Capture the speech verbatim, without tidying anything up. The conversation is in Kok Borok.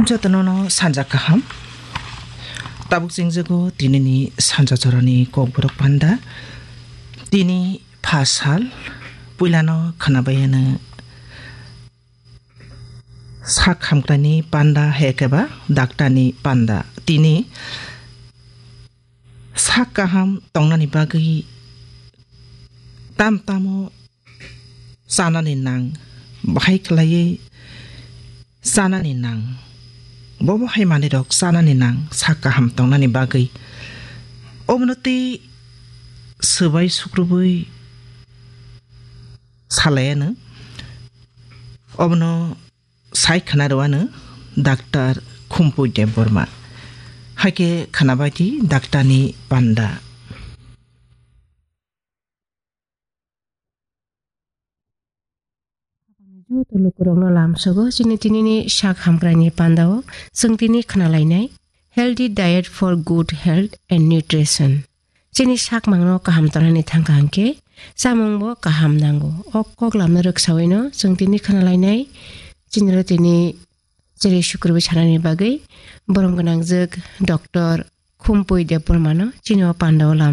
Jotono no sanja kaham. Tabuk chengjago tinini sanja jorani kokborok panda. Tini pha sal puilano khwnabai ano sak hamkrani panda hai khe ba daktarni panda. Tini sak kaham tongnani bagwi tam tamo chanani nang, bahai khlaiwi chanani nang, bobo hai manwirok chanani nang sak kaham tongnani bagwi. Obono tei swbai sukrubwi salai ano. Obono sai khwna rw ano Doctor Khumpui Debbarma. Hai khe khwnabai di daktarni panda. Joto lukurokno lamsogo chini tinini sak hamkraini pandao chwng tini khwnalainai Healthy Diet for Good Health and Nutrition. Chini sakmangno kaham tongnani thangkha hwnkhe chamungbo kaham nango. O kok lamno rwksawino chwng tini khwnalainai chiniro tini chiri sukurubwi sanani bagwi borom gwnangjwk Doctor Khumpui Debbarmano chini o pandao lam